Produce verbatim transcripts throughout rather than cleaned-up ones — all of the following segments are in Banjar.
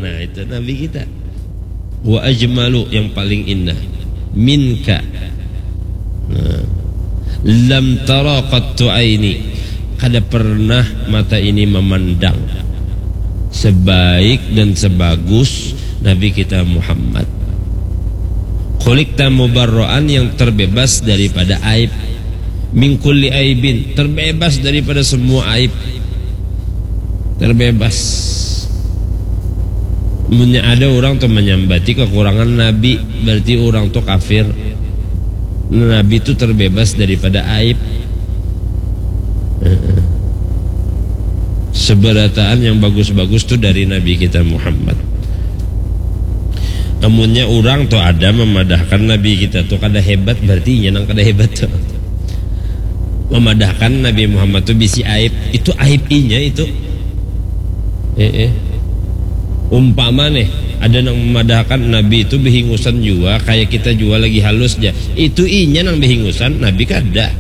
Nah, itu Nabi kita. Wa ajmalu, yang paling indah. Minka. Nah. Lam tara qattu aini. Kada pernah mata ini memandang sebaik dan sebagus Nabi kita Muhammad. Khuliqta mubarra'an, yang terbebas daripada aib. Min kulli aibin, terbebas daripada semua aib. Terbebas. Munnya ada orang tu manyambati kekurangan Nabi, berarti orang tu kafir. Nabi tu terbebas daripada aib. Heeh. Seberataan yang bagus-bagus tu dari Nabi kita Muhammad. Amunnya orang tu ada memadahkan Nabi kita tu kada hebat, berarti inya nang kada hebat tu. Memadahkan Nabi Muhammad tu bisi aib, itu aib inya itu. Eh, eh. Umpama nih, ada nang memadahkan Nabi itu behingusan jua, kayak kita jua lagi halus ja. Itu inya nang behingusan, Nabi kada.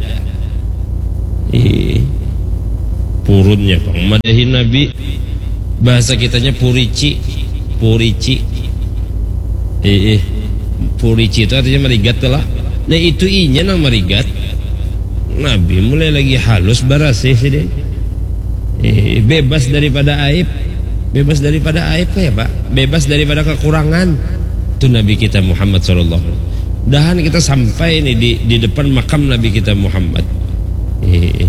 Eh, purunnya pang madahi Nabi. Bahasa kitanya purici, purici. Eh, eh. Purici itu artinya marigat lah. Nah, itu inya nang marigat. Nabi mulai lagi halus barasih sidin. Eh, bebas daripada aib. Bebas daripada aib ya, Pak? Bebas daripada kekurangan. Itu Nabi kita Muhammad sallallahu alaihi wasallam. Dahan kita sampai nih di, di depan makam Nabi kita Muhammad. Eh,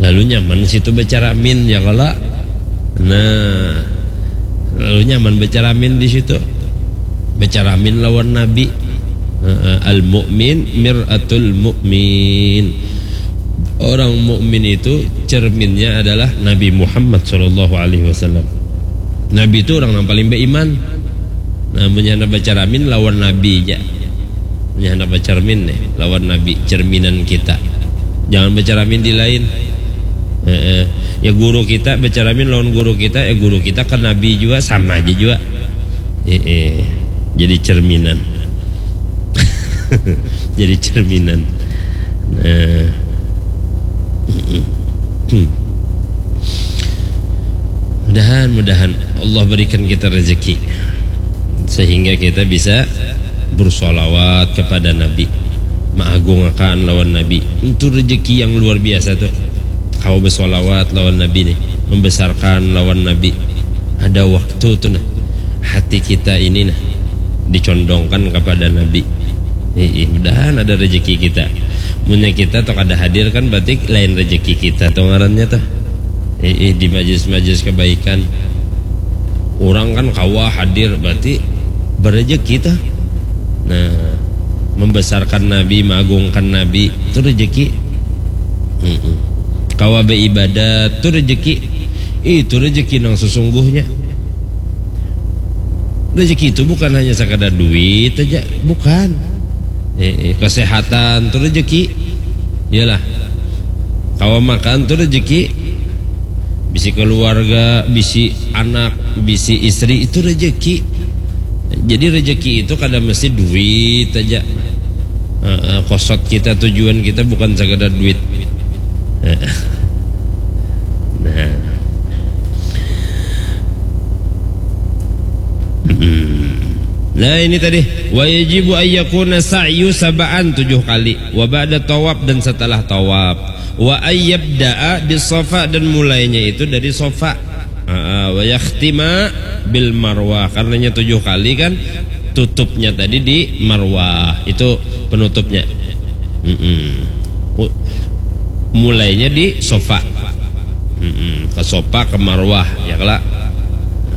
lalu nyaman situ bacaramin ya kala. Nah, lalu nyaman bacaramin di situ. Bacaramin lawan Nabi. Heeh, al mukmin mir'atul mukmin. Orang mukmin itu cerminnya adalah Nabi Muhammad sallallahu alaihi wasallam. Nabi itu orang yang paling beriman. Nah, munnya handak bacaramin lawan Nabi ja. Munnya handak bacermin nih lawan Nabi, cerminan kita. Jangan bacaramin di lain. Heeh. Ya guru kita bacaramin lawan guru kita, ya guru kita ke Nabi jua sama aja jua. Heeh. Jadi cerminan. Jadi cerminan. Nah. Mudahan, mudahan Allah berikan kita rezeki sehingga kita bisa bersolawat kepada Nabi, maagungakan lawan Nabi. Itu rezeki yang luar biasa tuh. Kau bersolawat lawan Nabi nih, membesarkan lawan Nabi. Ada waktu tuh nah, hati kita ini nah dicondongkan kepada Nabi. Ih, mudahan ada rezeki kita. Munnya kita tuh kada hadir kan berarti lain rezeki kita tuh ngarannya tuh. Ih, di majelis-majelis kebaikan. Orang kan kawa hadir berarti berrezeki tuh. Nah, membesarkan Nabi, mengagungkan Nabi itu rezeki. Mm-mm. Kawa beribadat itu rezeki. Itu rezeki nang sesungguhnya. Rezeki itu bukan hanya sekadar duit aja, bukan. Eh, eh, kesehatan itu rezeki. Iyalah. Kawa makan itu rezeki. Bisi keluarga, bisi anak, bisi istri itu rezeki. Jadi rezeki itu kada mesti duit aja. Heeh, kosot kita, tujuan kita bukan sekadar duit. Heeh. Nah. Hmm. Nah, ini tadi, wa yajibu ayyakuna sa'yu sab'an, tujuh kali, wa ba'da tawaf, dan setelah tawaf, wa ayyabda'a bis safa, dan mulainya itu dari safa. Aa, wa yakhtima bil marwah, karenanya tujuh kali kan, tutupnya tadi di marwah, itu penutupnya. Mm-mm. U-, mulainya di sofa. Mm-mm. Ke sofa, ke marwah, ya kala.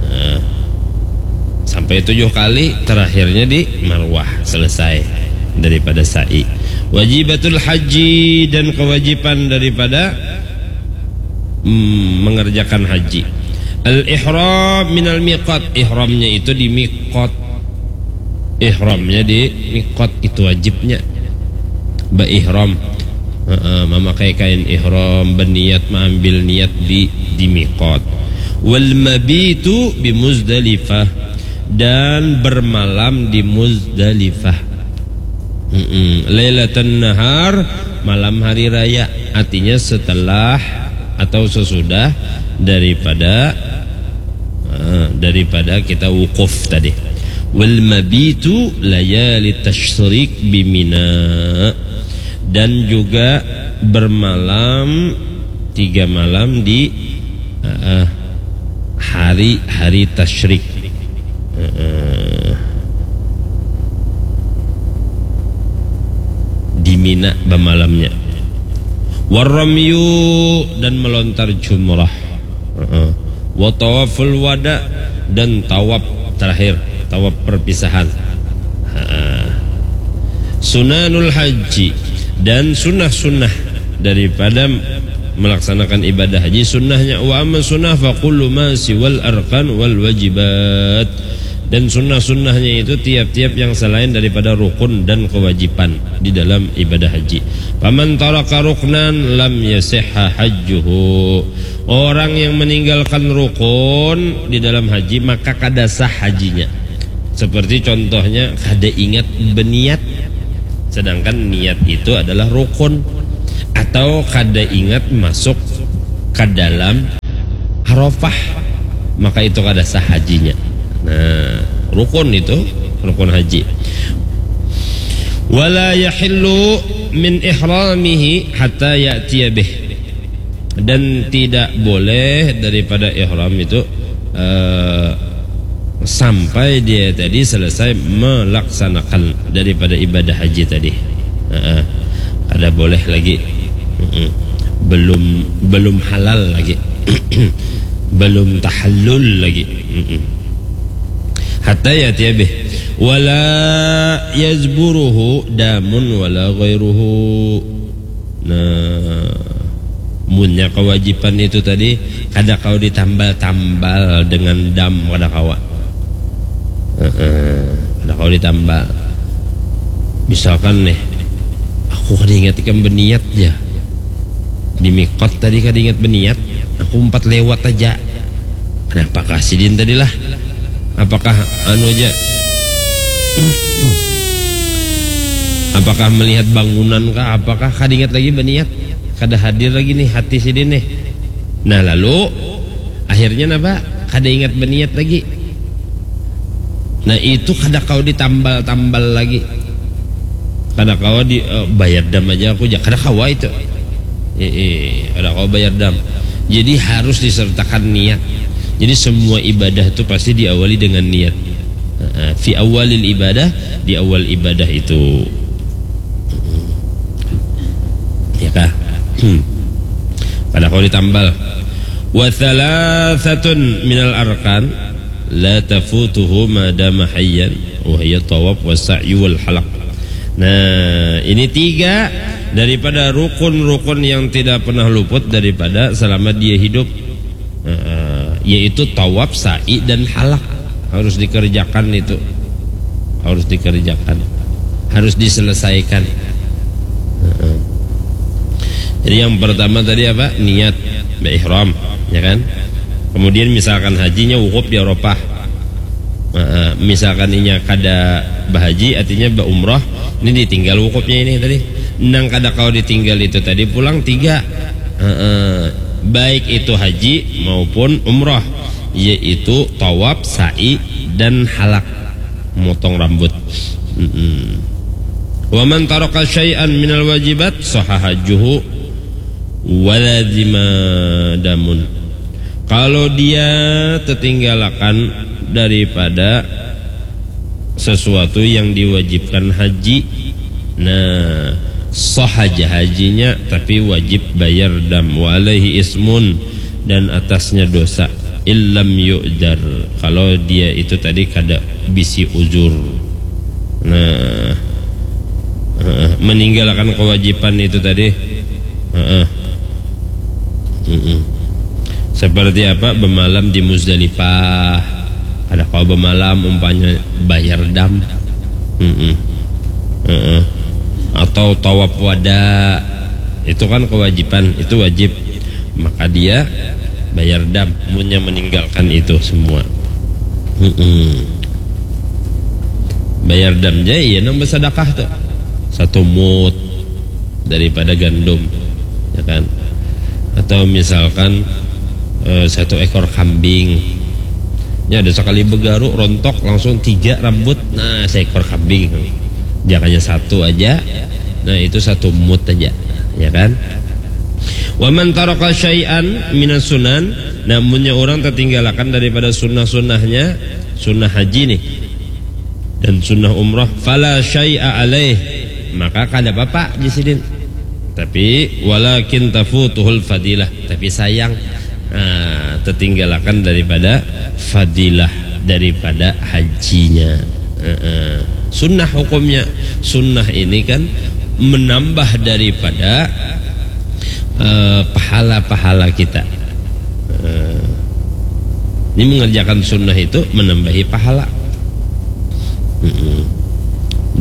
Nah, sampai tujuh kali, terakhirnya di marwah, selesai daripada sa'i. Wajibatul haji, dan kewajiban daripada, mm, mengerjakan haji. Al ihram minal miqat, ihramnya itu di miqat. Ihramnya di miqat itu wajibnya. Baihram. Heeh, memakai kain ihram, berniat, mengambil niat di, di miqat. Wal mabitu bi Muzdalifah, dan bermalam di Muzdalifah. Mm-mm. Lailatan nahar, malam hari raya. Artinya setelah atau sesudah daripada eh, daripada kita wukuf tadi. Wal mabitu layali tasyrik bimina, dan juga bermalam tiga malam di eh, eh, hari-hari tasyrik. Eh, eh, di Mina bamalamnya. Warramyu, dan melontar jumrah. Heeh. Wa tawaful wada, dan tawaf terakhir, tawaf perpisahan. Heeh. Sunanul haji, dan sunnah-sunnah daripada melaksanakan ibadah haji. Sunnahnya, wa amma sunnah fa kullu ma siwal arkan wal wajibat. Dan sunnah-sunnahnya itu tiap-tiap yang selain daripada rukun dan kewajiban di dalam ibadah haji. Paman taraka ruknan lam yasihha hajjuhu. Orang yang meninggalkan rukun di dalam haji, maka kada sah hajinya. Seperti contohnya, kada ingat beniat. Sedangkan niat itu adalah rukun. Atau kada ingat masuk ke dalam Arafah, maka itu kada sah hajinya. Nah, rukun itu, rukun haji. Wala yahillu min ihramihi hatta ya'tiya bih. Dan tidak boleh daripada ihram itu, eh, sampai dia tadi selesai melaksanakan daripada ibadah haji tadi. Heeh. Kada boleh lagi. Mm-mm. Belum, belum halal lagi. Belum tahallul lagi. Mm-mm. Hatta ya'tiya bih. Wala yazburuhu damun wala ghairuhu. Nah, munnya kewajiban itu tadi kada kau ditambal-tambal dengan dam, kada kawa. Heeh, kada kau ditambal. Misalkan nih, aku kada ingat ikam beniat ja. Di mikot tadi kada ingat beniat, aku umpat lewat aja. Kenapa kah sidin tadi lah? Apakah anu aja? Apakah melihat bangunan kah? Apakah kada ingat lagi beniat? Kada hadir lagi nih hati sidin nih. Nah, lalu akhirnya napa? Kada ingat beniat lagi. Nah, itu kada kau ditambal-tambal lagi. Kada kawa di, eh, bayar dam aja aku ja. Kada kawa itu. Eh, eh, kada kawa bayar dam. Jadi harus disertakan niat. Jadi semua ibadah itu pasti diawali dengan niat. Heeh, fi awalil ibadah, di awal ibadah itu. Ya kah? Hmm. Kada kawa ditambal. Wa thalathatun minal arkan la tafutuhu ma dama hayyan, wa hiya tawaf wa sa'yu wal halaq. Nah, ini tiga daripada rukun-rukun yang tidak pernah luput daripada selama dia hidup. Heeh, yaitu tawaf, sa'i, dan halak. Harus dikerjakan itu. Harus dikerjakan. Harus diselesaikan. Heeh. Jadi yang pertama tadi apa? Niat, ihram, ya kan? Kemudian misalkan hajinya wukuf di Arafah. Heeh, misalkan inya kada bahaji, artinya baumrah, ini ditinggal wukufnya ini tadi. Nang kada kawa ditinggal itu tadi pulang tiga. Heeh, baik itu haji maupun umrah, yaitu tawaf, sa'i, dan halak, motong rambut. Mm-mm. Wa man taraka syai'an minal wajibat sahha hajjuhu wa lazima damun. Kalau dia tertinggalakan daripada sesuatu yang diwajibkan haji, nah, sah aja hajinya, tapi wajib bayar dam. Wa alaihi ismun, dan atasnya dosa. Illam yu'dzar, kalau dia itu tadi kada bisi uzur. Nah, heeh, meninggalkan kewajiban itu tadi. Heeh. Mm-mm. Seperti apa? Bemalam di Muzdalifah. Kada kawa bemalam, umpanya bayar dam. Mm-mm. Heeh. Atau tawaf wada. Itu kan kewajiban, itu wajib. Maka dia bayar dam, munnya meninggalkan itu semua. Mm-mm. Bayar dam ja, iya nang bersedekah tuh. Satu mut daripada gandum, ya kan? Atau misalkan, eh, satu ekor kambing, Ya, ada sekali begaru, rontok, langsung tiga rambut. Nah, seekor kambing. Jangannya satu aja. Nah, itu satu mut aja, ya kan? Wa man taraka syai'an minas sunan, namunnya orang tertinggalakan daripada sunnah-sunnahnya, sunnah haji nih, dan sunnah umrah, fala syai'a alaih, maka kada apa-apa di sidin. Tapi walakin tafutuhul fadilah, tapi sayang, nah, tertinggalakan daripada fadilah daripada hajinya. Heeh. Sunnah hukumnya, sunnah ini kan menambah daripada eh, pahala-pahala kita. Eh, ini mengerjakan sunnah itu menambahi pahala. Mm-mm.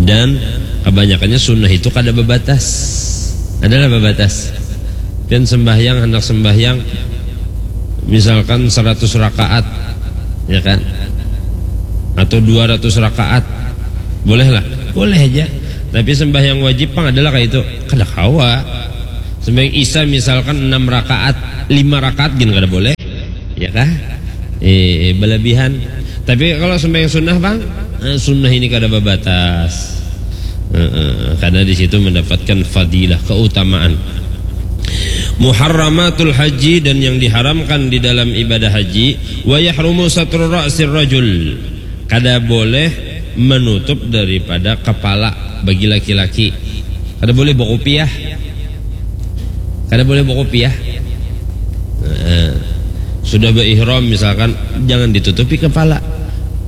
Dan kebanyakannya sunnah itu kada babatas. Adalah babatas. Dan sembahyang, hendak sembahyang, misalkan seratus rakaat, ya kan? Atau dua ratus rakaat. Bolehlah, boleh aja. Tapi sembahyang wajib pang adalah kayak itu. Kada kawa. Sembahyang Isya misalkan enam rakaat, lima rakaat gin kada boleh. Ya kah? Eh, belebihan. Tapi kalau sembahyang sunnah, Bang, eh, sunnah ini kada babatas. Heeh, karena di situ mendapatkan fadilah, keutamaan. Muharramatul haji, dan yang diharamkan di dalam ibadah haji, wa yahrumu satru ra'sir rajul. Kada boleh menutup daripada kepala bagi laki-laki. Kada boleh berkopiah. Kada boleh berkopiah. Heeh. Sudah berihram misalkan, jangan ditutupi kepala.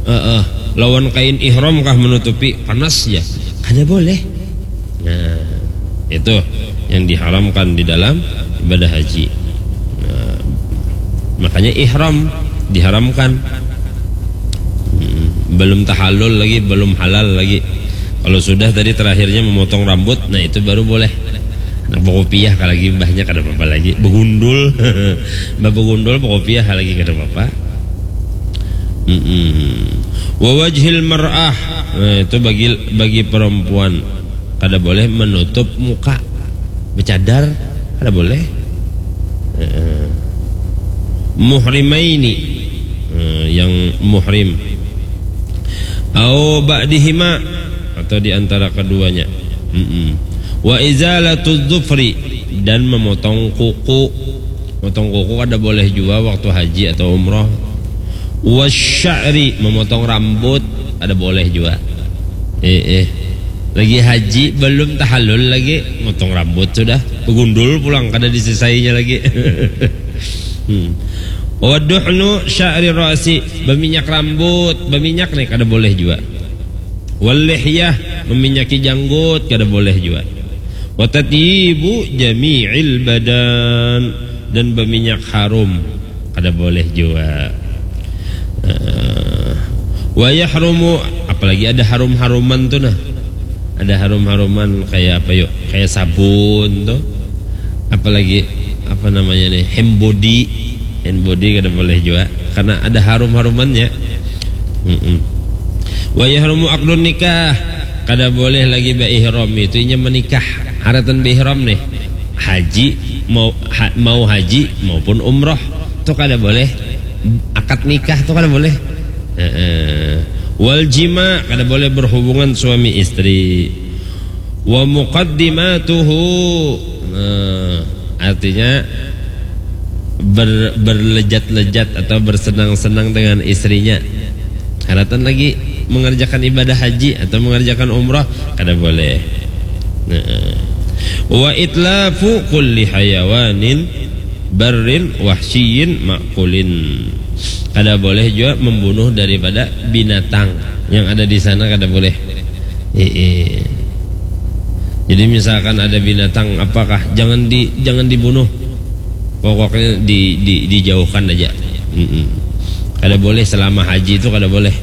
Heeh. Lawan kain ihram kah menutupi, panas ya. Kada boleh. Nah, itu yang diharamkan di dalam ibadah haji. Nah, makanya ihram diharamkan. Hmm, belum tahallul lagi, belum halal lagi. Kalau sudah tadi terakhirnya memotong rambut, nah itu baru boleh. Nah, berkopiah kalau lagi mbahnya kada apa-apa lagi. Begundul, mbah begundul, berkopiah lagi kada apa-apa. Mm-mm. Wa wajhil mar'ah. Nah, itu bagi bagi perempuan kada boleh menutup muka, bercadar kada boleh. Heeh. Muhrimaini, eh, yang muhrim. Au ba'dihima, atau di antara keduanya. Mm-mm. Wa izalatu dzufri, dan memotong kuku. Motong kuku kada boleh jua waktu haji atau umroh. Wasya'ri, memotong rambut kada boleh jua. Eh, eh. Lagi haji, belum tahallul lagi, motong rambut sudah. Begundul pulang, kada disisainya lagi. Hmm. Waduhnu sya'ri ra'si, berminyak rambut, berminyak nih kada boleh jua. Wal lihyah, meminyaki janggut, kada boleh jua. Wa tatyibu jami'il badan, dan berminyak harum, kada boleh jua. Eh, wa yahrumu, apalagi ada harum-haruman tu nah. Ada harum-haruman kayak apa yuk? Kayak sabun tu. Apalagi apa namanya nih? Hand body. Hand body kada boleh jua karena ada harum-harumannya. Mm-mm. Wa yahrumu aqdun nikah, kada boleh lagi baihram itu inya menikah. Haratan baihram nih, haji mau ha, mau haji maupun umroh tu kada boleh. Akad nikah tu kada boleh. Heeh. Wal jima, kada boleh berhubungan suami istri. Wa muqaddimatuhu, nah, artinya ber, berlejat-lejat atau bersenang-senang dengan istrinya. Haratan lagi mengerjakan ibadah haji atau mengerjakan umrah, kada boleh. Nah. Wa itlafu kulli hayawanin barrin wahsyiyin makulin. Kada boleh jua membunuh daripada binatang yang ada di sana, kada boleh. Heeh. Jadi misalkan ada binatang apakah, jangan di jangan dibunuh. Pokoknya di, di dijauhkan aja. Mm-mm. Kada boleh selama haji itu kada boleh.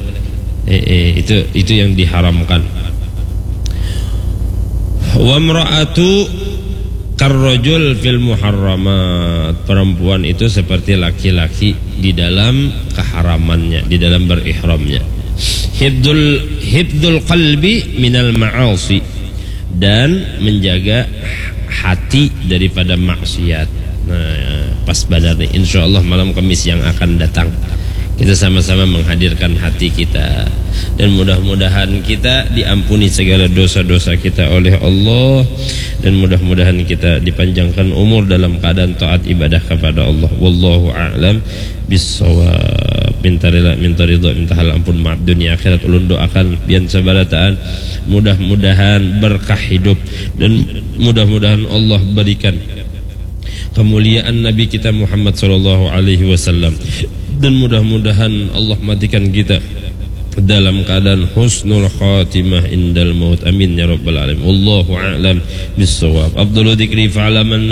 Heeh, itu itu yang diharamkan. Wamra'atu karrojul fil muharramat. Perempuan itu seperti laki-laki di dalam keharamannya, di dalam berihramnya. Hibdul hibdul qalbi minal ma'asi, dan menjaga hati daripada maksiat. Nah, pas banar nih. Insya Allah malam Kamis yang akan datang Kita sama-sama menghadirkan hati kita, dan mudah-mudahan kita diampuni segala dosa-dosa kita oleh Allah, dan mudah-mudahan kita dipanjangkan umur dalam keadaan taat ibadah kepada Allah. Wallahu a'lam bissawab. Minta rela, minta ridho, minta halampun, maaf dunia akhirat. Ulun doakan pian sabarataan, mudah-mudahan berkah hidup, dan mudah-mudahan Allah berikan kemuliaan Nabi kita Muhammad sallallahu alaihi wasallam, dan mudah-mudahan Allah matikan kita dalam keadaan husnul khatimah indal maut. Amin ya rabbal alamin. Wallahu a'lam bissawab. Afdalu dzikri fa'ala man